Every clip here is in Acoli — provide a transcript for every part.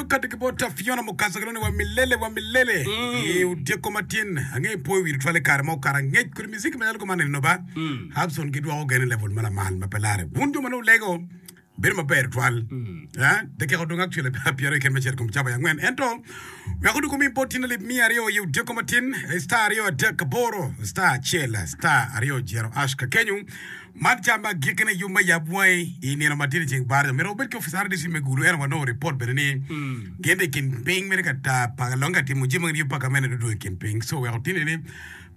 Meno kati ki bot Fiona Mukasa kilwongo ni wa milele wa milele i odyeko matin. Ange ipoyo wi tutwal i kare ma okato angec kodi muziki macalo kuman eni ba. Hudson gidwoko gen i level ma lamal ma pe lare. Wun jo ma nongo wulego bedo maber tutwal. Eh, dakika odong actually pyeraryo keken me cito i kom cawa angwen. Ento wek odwogo mi bot tin alip miya aryo i odyeko matin star aryo adek aboro star acel star aryo jero ash kakenyu. Man ca me agikkine yub me yab wangi i nino ma tye ceng baraja myero wubed ki opica RDC me Gulu ento wanongo ripot bene ni gin tye i kin piny mere ka tar pa longe ka timo jami ma yub pa gamente dong i kin piny so weko tini ni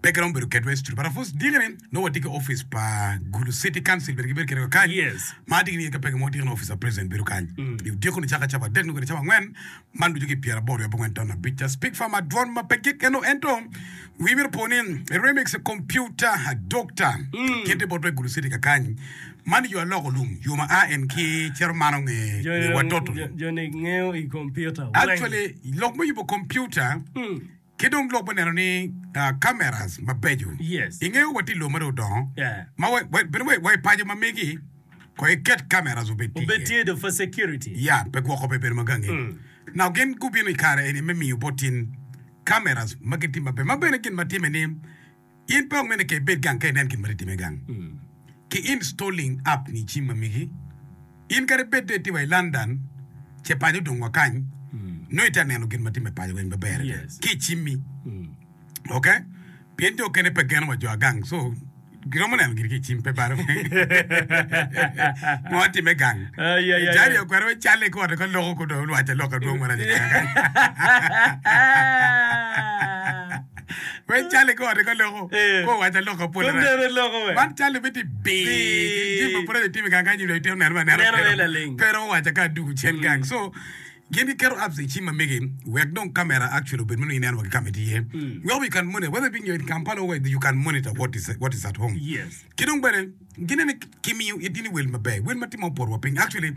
pe giromo bedo kedwa i studio but of course diki ni nongo watye ki opic pa Gulu City Council bene gibedo kedwa kany ma atye ki niye ka peke mo diki ni opic pa president bedo kany i odiko ni caka cawa adek nyo kwede cawa angwen Man ducu ki pyeraboro wiye abongwen ton abic. Speak Farm adwon ma pe gik eno ento wii myero opo ni remix computer doctor kite bot wek Gulu City kakany. Man yo aloko lum yo ma a en ki cito mano nge nge wa toto. Joni ngeyo i computer weng. Actually lok me yubo computer Ki dong lok me neno ni cameras mabeco. Yes. Ingeyo watye i lobo ma dong odongo Yeah. ma wa, wa, bene wa, wa i paco ma megi ko iket cameras obed tye Obed iye. tye do for security. Ya, pe gwoko pe bedo ma gangi. Now gin gubino i kare eni me miyo bot in cameras ma gitye maber ma bene gin ma time ni In pe omene ka ibed gang ka inen gin ma tye time gang. Ki installing app ni i cim ma megi. In kadi bed dong itye wa i London ce paco odong wa kany, nongo itye ka neno gin ma time paco weng maber adada ki i cimmi. Ok? Pien jo okene pe geno wa jo agang so giromo neno giri ki i cim pe balo ngo time gang. Jari okwero me calle ki ote ka loko ko dong olwaco aloka dwong marac i kare kany. Wek cale ki ote ka loko, Eh. ko owaco aloka pol Kom arac. dano loko we. Man cale bene tye bi Bi. jami ma pud aye timo i gang kany nyo itye neno ma neno Neno pero en laling. pero owaco ka adugu cen gang. So gin giketo apps i cim ma megi wek dong camera actually obed ma nongo ineno wa ki ka ma itye iye. Weko you can monitor whether being in Kampala or where you can monitor what is what is at home. Yes. Ki dong bene ginene kimiyo itini wel maber, wel ma tye ma opoto wa piny. Actually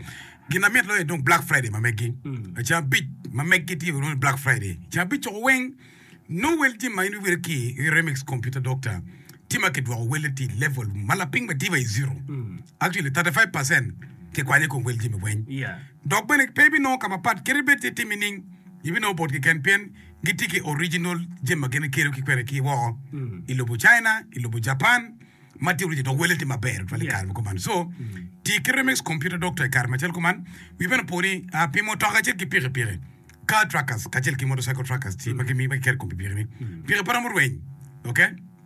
gin ma mit loyo dong Black Friday ma megi. Ceng abic ma megi tye ni Black Friday. Ceng abic coko weng Nongo wel jami ma in iwilo ki i Remix Computer Doctor tye ma kidwoko welle tye i level ma lapiny ma tye wa i zero. Actually 35% kikwanyo i kom wel jami weng. Dok bene pe ibinongo ka mapat kadi bed tye timi nining ibinongo bot keken pien gitye ki original jami ma gin gikelo ki kwede ki woko i lobo China, i lobo Japan ma tye original dok welle tye maber tutwal i kare ma kuman. So ti ki Remix Computer Doctor i kare macalo kuman. Wi bene opo ni pi mutoka kacel ki pikipiki. Car trackers kacel ki motorcycle trackers tye ma gimiyo ma giketo i kom pikipiki ni pikipiki pe romo rweny ok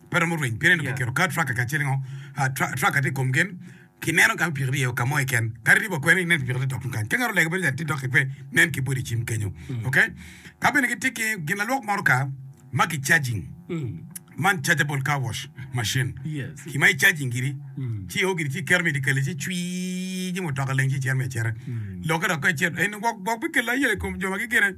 pe romo rweny pien eno Yeah. kiketo car tracker kacel ngo ah, tra- tracker tye i kom gin kineno ka pikipiki tye iye ka mo keken kadi ribo kwene inen pikipiki tye dok tung kany ka ngat olego bedo calo tye dok pe nen ki boti i cim kenyo ok ka bene gitye ki gin lalwok motoka ma ki charging Man chargeable car wash machine. Yes. Ki ma i charging giri, ci o giri ci iketo me dikele ci cwii ci mutoka leng ci icero me acera. Lokke dok ka icito en gwok gwok bikelo ayela i kom jo ma gigine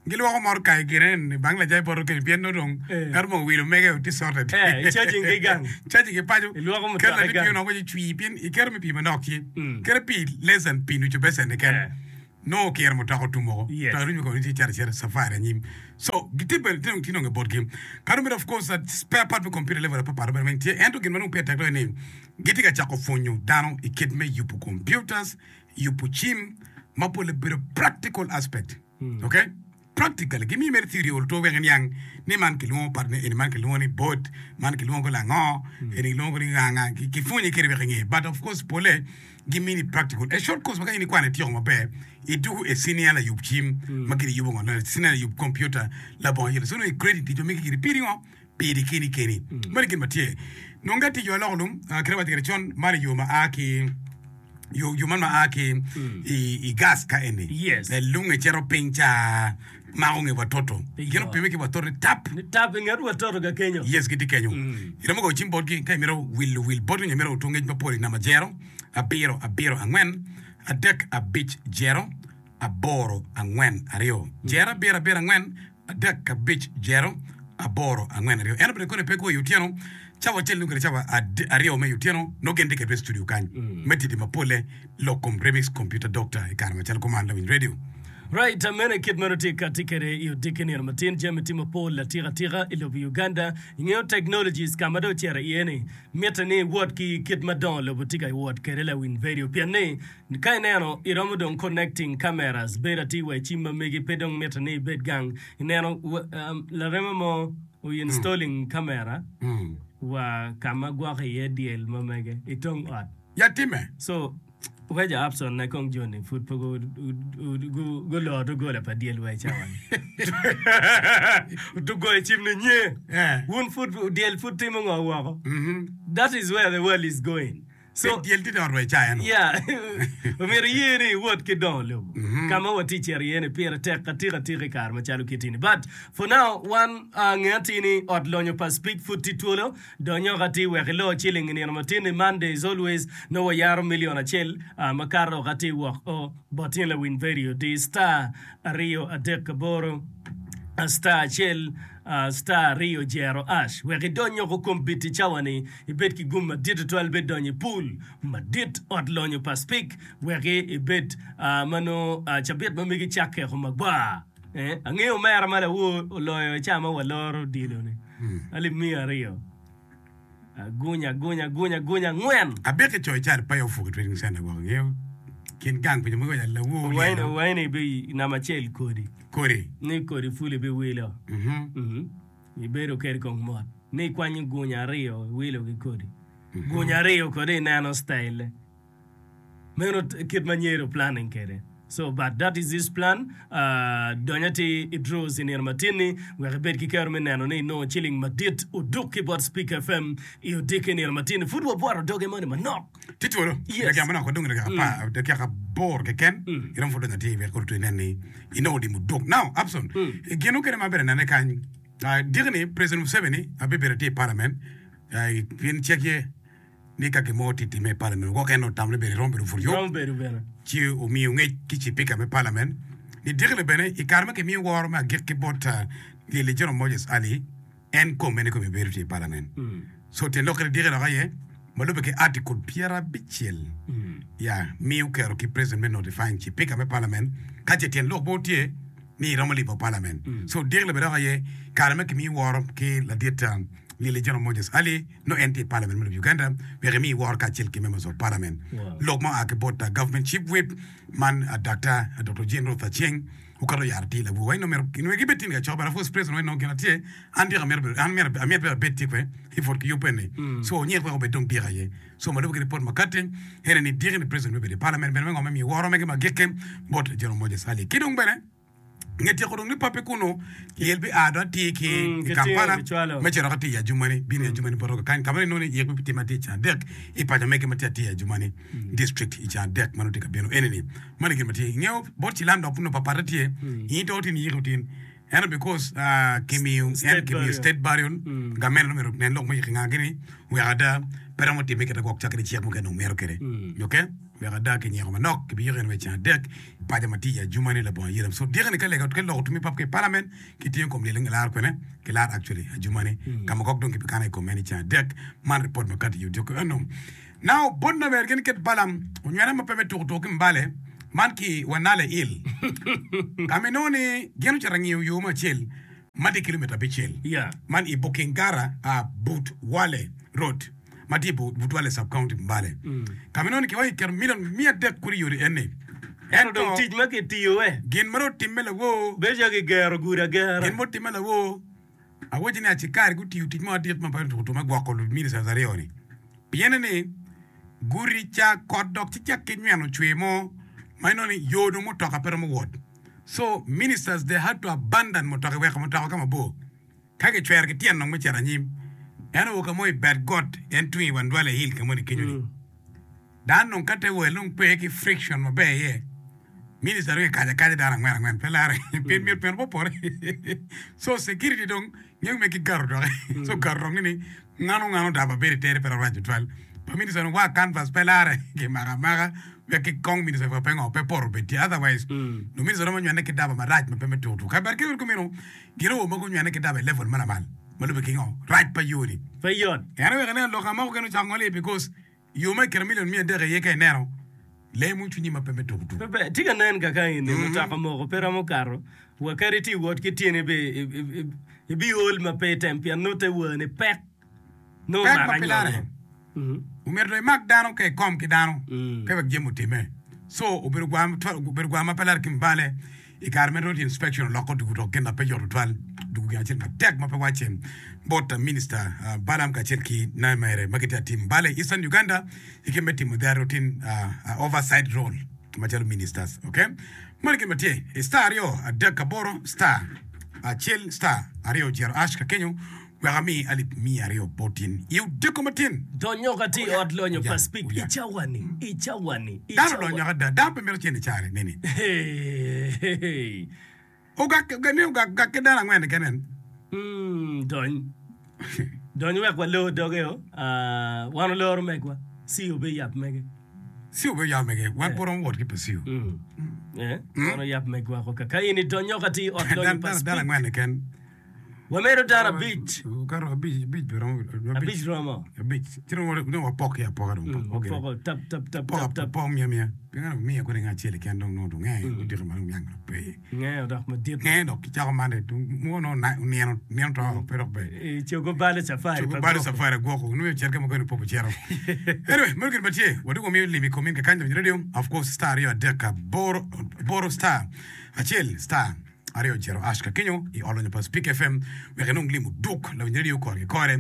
gilwoko motoka i gine ni bang lajai poto keni pien nongo dong Eh. ngat mo owilo mege tye sorted. Eh, i charging ki gang. Charging ki paco. Ilwoko mutoka Keto i latin gang. pii onongo ci cwii pien iketo me pii manok ci. Mm. Keto pii less than pii nucu becen keken. Eh. Nongo okiro mutoka otum woko. Yes. To arunyo kono tye cito acita safari anyim. So gitye bene tye dong tye nonge botgi. Ka dong bedo of course that spare part me computer level apapat bene weng tye. Ento gin ma dong pire tek loyo ni gitye ka cako pwonyo dano i kit me yubo computers, yubo cim ma pole bedo practical aspect. Okay? Practically, gimiyo mere theory olo to wek iniang ni man kilwongo part ne eni, man kilwongo ni board, man kilwongo lango, eni kilwongo ni nganga. Kipwonyi kede wek inge. But of course pole gimini practical. A short course ma ka in ikwano ityeko maber, idwogo e senior layub cim ma gin iyubo ngo, senior layub computer labongo ayela. So nongo i credit tic ma megi giri piri ngo? Piri keni keni. Meno gin ma tye. Nongo ka tye jo aloko lum, kit ma awaco kwede con, man yo ma a ki yo yo man ma a ki i, i gas ka eni. Yes. Lunge cito piny ca mako nge watoto. Iyo. Gin opime ki watoto ni tap. Ni tap i nget watoto ka kenyo. Yes, gitye kenyo. Iromo goyo cim botgi ka imito wilo wil botgi nyo imito otung ngec mapol i namba jero abiro abiro angwen adek abic jero aboro angwen aryo jero abiro abiro angwen adek abic jero aboro angwen aryo. Ento bene koni pe kwo i otyeno cawa acel nyo kede cawa aryo me i otyeno nongo gin tye kwedwa i studio kany me titi mapolle lok kom Remix Computer Doctor i kare macalo kuman lawiny radio. Right, meno kit meno tye kati kede i odiki nino matin jami tye mapol atika atika i lobo Uganda. Ingeyo technologies ka ma dong ocito iye ni mitte ni iwot ki kit ma dongo lobo tye ka wot kede lawiny vedio pien ni ka ineno iromo dong connecting cameras bedo atir wa i cim ma megi pe dong mitte ni ibed gang ineno larema mo o installing camera wa ka ma gwoko iye dyel ma mege i tong ot. Ya timme. So Weca Abson ne kong joni pud pe guloro doggola pa dyel wa i cawa-ni. Ogoyo cim ni nye, wun pud dyel pud timo ngo woko? That is where the world is going. So, Pe dyel tye dot wa i ca eno. Yeah. Omyero iye ni iwot ki dongo lobo. Ka ma watye cito iye ni pire tek atika atika i kare macalo kiti ni. But for now, wan uh, nge atir ni ot lonyo pa Speak pud tye twolo. Donyok atir wek ilo ciling i nino matin-ni, Monday is always, nongo wayaro million acel makato ok atir wok o bot in lawiny vedio di star 238 star acel star aryo jero ash wek idony oko kombiti cawa ni ibed ki gum madit tutwal be donyo i pool madit ot lonyo pa spik wek ibed ma nongo cabit ma megi cakke oko magwar. Angeyo omera ma lawor oloyo i ca ma waloro odilo-ni alip miya aryo. Agunya, agunya, agunya, agunya angwen. Abik ki coyo cal pa Ofuki Trading Center gwok angeyo kin gang pinyo mogo lawor lyelo. Waini bi namba acel kodi. Kodi. Ni kodi pul ibiwilo. Ibedo kede kong mot. Ni ikwanyo gunya aryo iwilo ki kodi. Gunya aryo kodi ineno style-le. Meno kit ma nyero planning kede. So but that is his plan. Uh, dony atir i draws i nino matin-ni wek ibed ki kero me neno ni inongo ciling madit oduk ki bot Speak FM i odiki nino matin-ni. Pud wabwoto doge moni manok. Tye twolo. Yes. Dakika manok wadong dakika apar, dakika aboro keken. Iromo pud donyo atir wek koro inen ni inongo lim oduk. Now, Abson, gin mukene ma abedo nene kany, uh, diki-ni President Museveni abibedo atir i parliament, uh, pien cik ye ni ka gin mo tye timme i palament gwok en otamo ni bene romo bedo pud yub ci omiyo ngec ki cipika me palament ni dikine bene i kare ma kimiyo woro me agikki bot Lyelli General Moses Ali en kome ni kome bedo tye i palament so tyen lokke ni diki dok aye ma lubbe ki article pyerabicel ya miyo kero ki president me notifying cipika me palament ka ce tyen lok mo tye ni iromo libo palament so diki bene dok aye kare ma kimiyo woro ki ladit Lyelli General Moses Ali nongo en tye i Parliament me lobo Uganda wek emi woro kacel ki Members of Parliament. Lok ma oa ki bot Government Chief Whip man Daktar Doktor Jane Ruth Aceng okato yaro tye i labwor wa nongo myero gibed tye i kacokke but of course president wa nongo gin atye an dyeka amito bedo an myero amito bene abed tye kwe i pwod ki yub eni so onyek wek obed dong dyeka aye so ma lube ki ripot ma kati ene ni dyeki ni president me bedo i parliament bene me ngo me miyo woro mege ma agikki bot General Moses Ali ki dong bene Nge tyeko dong ni pape kunu lyel bi a dong atir ki i Kampala me cito ka tiyo i Adjumani bino i Adjumani bot kany ka ma inongo ni yik bi time atir ceng adek i paco mege ma tye atir i Adjumani district i ceng adek ma nongo tye ka bino eni ni mano gin ma tye ingeyo bot cilam dok nongo papate tye in to tin yiko tin ento because kimiyo en kimiyo state burial gamente nongo myero onen lok me yiko nga gini wek ada pe romo time kite gwok cak kede cik mukene nongo mito kede okay wek ada kinyeko manok kibiyiko en wa i ceng adek Paco ma tye i Adjumani labongo ayela. So dyeke ni ka lega ka loko tumi pap ki i parliament ki tingo kom lyel laro kwene ki laro actually Adjumani ka ma kok dong ki bikano i kom en i ceng adek man report ma kati i odiko eno. Now bot na ber gin ket Balaam onywene ma pe me tuko tuko ki Mbale man ki Wanale Hill ka ma inongo ni gin ocito angiyo yo mo acel ma tye kilomita abicel man i Bukingara but Wale road. ma tye i but Wale Sub County Mbale ka ma inongo ni kiwaco kiketo milion miya adek kulu i yodi eni. Ento dong tic ma kitiyo we. Gin ma dong otimme lawor. Bedo calo kigero gudo agera. Gin ma otimme lawor awaci ni acikari gutiyo tic mo madit ma pe otuko me gwoko ministers aryo-ni pienne ni gudi ca kot dok ci cak ki nyweno cwer mo ma inongo ni yo dong mutoka pe romo wot so ministers they had to abandon mutoka weko mutoka ka mabor. Ka kicwero ki tyen dong me cito anyim, en oo ka mo i bad got, en tung i Wandwale Hill ka moni kenyo-ni. Dano dong ka te wel dong pe ki friction maber iye, minista dong ekaco akaca dano angwen angwen pe lare pien myero pien opore. So security dong ngeyo me ki gato doki. So gato dong ni ngano ngano daba bedo i tere pe dok rac tutwal. Pa minista dong wa canvas pe lare kimako amaka wek ki kong minista pe ngo pe poto obed tye otherwise luminista romo nywene ki daba marac ma pe me tuko tuko. Ka bed kit kumeno Gin awobe ma gunywene ki daba i level ma lamal ma lube ki ngo? Rac pa yo ni. Pe yot. En oweko ineno lok amoko kene ocako ngol iye because yo ma iketo million miya adek iye ka ineno. Lee mo cwinyi ma pe me tuku tuku. Pe ber. Tye ka nen kaka eni mutoka moko pe romo kato wa kadi itye wot ki tyeni be ibiol ma pe item pien nongo te wani pek nongo Pek omako ma pe lare. anyongo. Omyero dong imak dano ka ikom ki dano ka wek jami otimme. So obedo gwar obedo gwar ma pe lare ki mubale i kare ma road inspection oloko dugu dok gin ma pe yot tutwal dugu gin acel matek ma pe wacce bot minister Balaam kacel ki Naimere ma gitye ka timo bal i Eastern Uganda i kit me timo their routine oversight role macalo ministers. Okay? Meno gin ma tye i star aryo adek aboro star acel star aryo jero ash ka kenyo Wek ami alip miya aryo bot in i odiko matin. Donyo ka tye i ot lonyo pa Speke i cawa-ni, i cawa-ni, i Dano cawa. olonyo ada, dano pe mito cente i care nini. Hey. Ogak, ni ogak, ogak ki dano angwen keken en. Mm, dony. Dony wek walor doge o. Ah, wan oloro megwa. Ci obeyab mege. Ci obeyab mege. Wan pe waromo wot ki pa Cio. Mm. Eh, wan oyab megwa ko ka in idonyo ka tye i ot lonyo pa Dano Speke. angwen keken. Wamedo dano abic. Okato abic, abic bene romo. Abic romo. Abic. Ci dong dong wapok ki apoka dong. Mm, Pok wapoko tap tap tap Poko tap tap. poko miya miya. Pien ka miya kodi nga acel keken dong nongo dong nge odiko ma dong niang dong pe. Nge odok madit. Nge dok kicako mane dong mo nongo na- nino nino to pe dok ber. I cogo balo cafari Cogo pa balo gwoko. safari agwoko nongo ocito ka mukene poko cito. Anyway, meno gin ma tye. Wadwogo miyo lim i kom in kakany lawiny radio. Of course star aryo adek aboro aboro star acel star Aryo ocito Ash ka kenyo i ot lonyo pa Spik FM wek enong lim oduk lawiny radio kore ki kore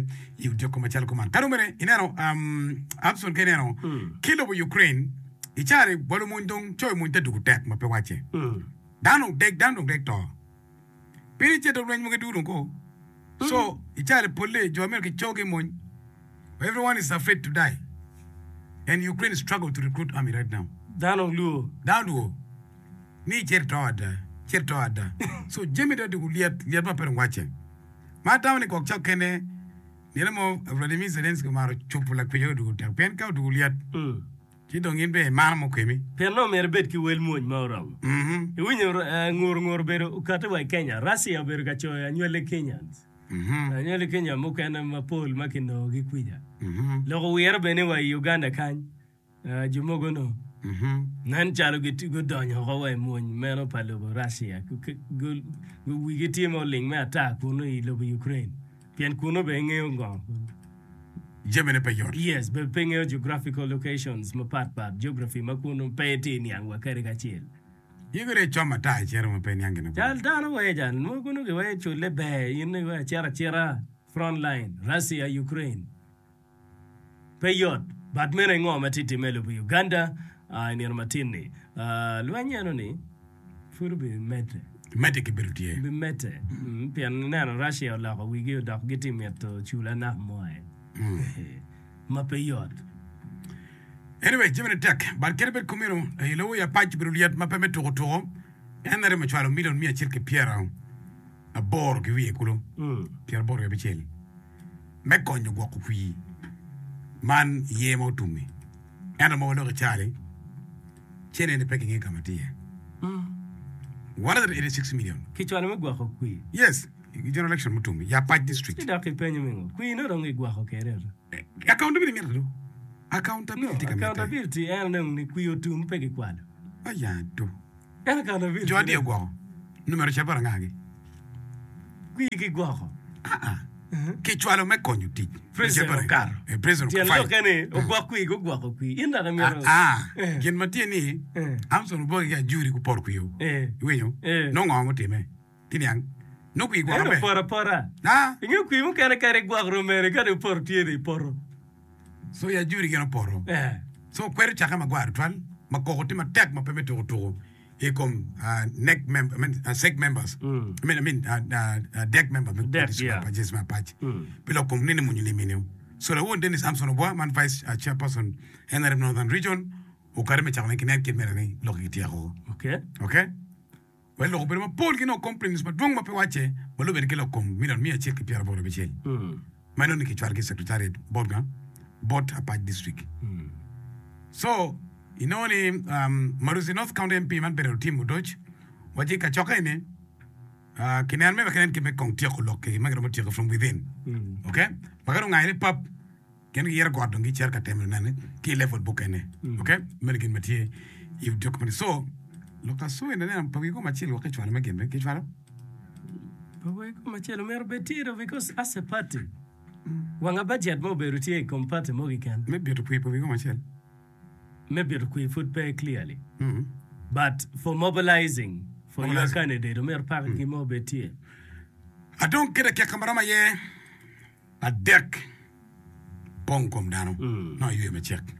i odyeko macalo kuman. Ka dong bene ineno um, Abson ka ineno ki lobo Ukraine i cari wa lumony dong coyo mony te dugu tek ma pe wacce. Dano dong deg dano dong deg to. Piny i cito lweny mogo dugu dong ko. So i cari polle jo myero kicogi i mony. Everyone is afraid to die and Ukraine struggle to recruit army right now. Dano lwor. Dano lwor. Ni icit ito ada, icit ito ada. So jami dong doko lyet, lyet ma pe dong wacce. Ma atamo ni gwok cok kene nino mo Vladimir Zelensky omaro cubo lakwija odoko tek pien ka odoko lyet ci dong in bene imano mo kemi. Pien nongo myero ibed ki wel mwony ma oromo. Iwinyo ngur ngur obedo okati wa i Kenya. Russia obedo ka coyo anywali Kenyans. Anywali Kenya mukene mapol ma kinongogi kwija. Lok owire bene ni wa i Uganda kany. Jo mogo onongo nen calo gudonyo oko wa i mony meno pa lobo Russia. Wigi tye ma oling me ata kunu i lobo Ukraine pien kunu bene ngeyo ngo. Jamine pe yot. Yes, bene pe ngeyo geographical locations mapat pat, geography ma kunu pe itye niang wa kadi kacel. In kodi icom ata icito ma pe iniang gin ma Cal dano wee cal mogo nongo giweyo culle ber in iweko acito acita front line Russia Ukraine. Pe yot, but meno aye ngo ma tye timme i lobo Uganda i nino matin ni. Lweny eno ni pud obi medde. Medde ki bedo tye. Bi medde pien ineno Russia oloko wigi odok gitye mito cula naka mo aye ma pe yot. Anyway, jami ni tek, but kadi bed kumeno, i lobo i apac obedo lyet ma pe me tuko tuko. En aye ocwalo milion miya acel ki pyeraboro ki wiye kulu, pyeraboro ki abicel. me konyo gwoko kwir man iye ma otum-mi. Ento ma waloko i caa-ni, cene-ni pe kingeyo ka ma tye iye. 186 million. Kicwalo me gwoko kwir. Yes, i general election mutum-mi, i Apac district. Ci dok ipenyo mingo? Kwir nongo dong gigwoko kede ata. Accountability mitte do. Accountability tye ka mitte. Accountability en dong ni kwir otum pe kikwalo. Aya do. En accountability. Jo adi ogwoko? Numero ca bot angagi? Kwir gigwoko. Aa. Kicwalo me konyo tic. President okato. Eh, president Tyen fine. lokke ni ogwok kwir gugwoko kwir. In dok imito. Aa. Gin ma tye ni Armstrong Oboke ki Ajuri gupoto kwir. Eh. Iwinyo? Eh. Nongo ngo mutimme? Ti niang? Nongo kwir gwoko Ento be. opoto apota. Aa. Ingeyo kwir mukene kadi igwok romere kadi opoto tye ni ipoto. So i Ajuri gin opoto. Eh. So kwer ocakke magwar tutwal ma koko tye matek ma pe me tuko tuko i kom NEC member, I mean, SEC members, I mean, I mean, DEC members me DEC, district yeah. pa James me Apac. Pi lok kom nene munyo lim-mi-ni. So lawon Dennis Amson Obwa man Vice Chairperson NRM Northern Region okati me cako ne ki nen kit mere ni lok gityeko. Okay. Okay? Wek lok obedo mapol ki nongo complaints madwong ma pe wacce ma lubbe ki lok kom milion miya acel ki pyeraboro abicel ma nongo ni kicwalo ki secretariat bot nga? Bot Apac district. So inongo ni um, Maruzi North County MP man Bernard Otim Odoc waci kacokke eni uh, kineno me wek inen kit me kong tyeko lok ki ma giromo tyeko from within. Okay? Ma ka dong ngayone pap. Gin giyito got dong gicito ka temo nene ki i level mukene. Ok, meno gin ma tye i document. So, lok aso eni aneno pa wi kom acel wek kicwalo me gin be kicwalo? Pa wi kom acel omyero obed tye do because as a party wanga budget mo obedo tye i kom party mo keken. Me bito kwir pa wi kom acel. Me bito kwir pud pe clearly but for mobilizing for your candidate omyero paki mo obed tye. Adong ki dakika maromo aye. Adek, pong kom dano nongo ayweyo macek.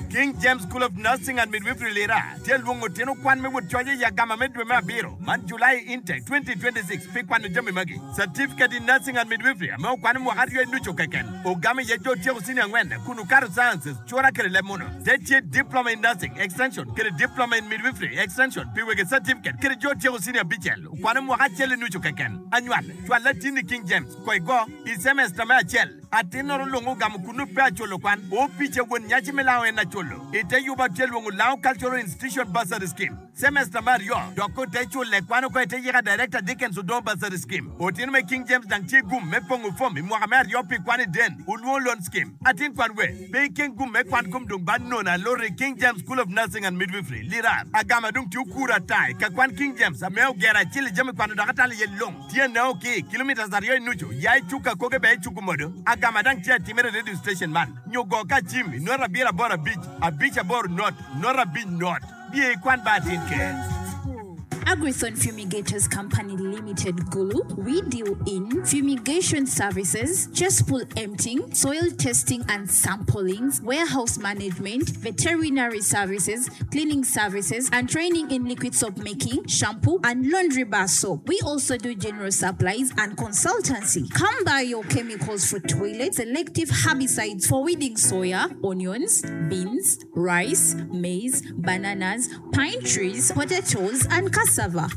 King James School of Nursing and Midwifery Lira tye lwongo tino kwan me wot coc i agama me dwe me abiro man, July Intake 2026, pi kwano jami magi, Certificate in Nursing and Midwifery ame okwano mwaka aryo i nucu keken, ogamo iye jo otyeko senior angwen kun okato Sciences, cura kede leb muno. Te tye Diploma in Nursing, Extension, kede Diploma in Midwifery, Extension, pi wege certificate kede jo otyeko senior abicel okwano mwaka acel i nucu keken. Anywal. Cwal latinni i King James, ko igo, i cemesta me acel. Atinnoro lwongo ogamo kunnu pe aculo kwan. Opica won nyaci me lango en aculo. I te yuba tye lwongo Lango Cultural Institution Bursary Scheme. Cemesta me aryo, dok ko te cule kwan oko i te yika Director Dickens Odongo Bursary Scheme. Otino me King James dang tye gum me pongo fom i mwaka me aryo pi kwan i Den Olwongo Loan Scheme. Atin kwan we, pe ikeng gum me kwan kom dong ba nono aloti i King James School of Nursing and Midwifery, Lira. Agama dong tye okuro ata i ka kwan King James ame ogero acel i jami kwano dok atalo iye long. Tye neo ki kilometres aryo i nucu ya i cuk akoge bene i cuk omodo. Agama dang tye atimere i radio station man nyo go ka cim i not abiro aboro abic abic aboro not not abic not. Biye ikwan ba atin ker. Agrithon Fumigators Company Limited Gulu, we deal in fumigation services, cesspool emptying, soil testing and samplings, warehouse management, veterinary services, cleaning services and training in liquid soap making, shampoo and laundry bar soap. We also do general supplies and consultancy. Come buy your chemicals for toilet, selective herbicides for weeding soya, onions, beans, rice, maize, bananas, pine trees, potatoes and cassava.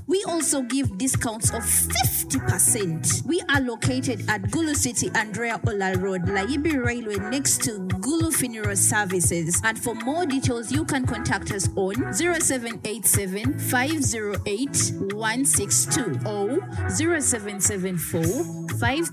We also give discounts of 50%. We are located at Gulu City, Andrea Ola Road, Layibi Railway next to Gulu Funeral Services and for more details you can contact us on 0787 508 162 or 0774 5.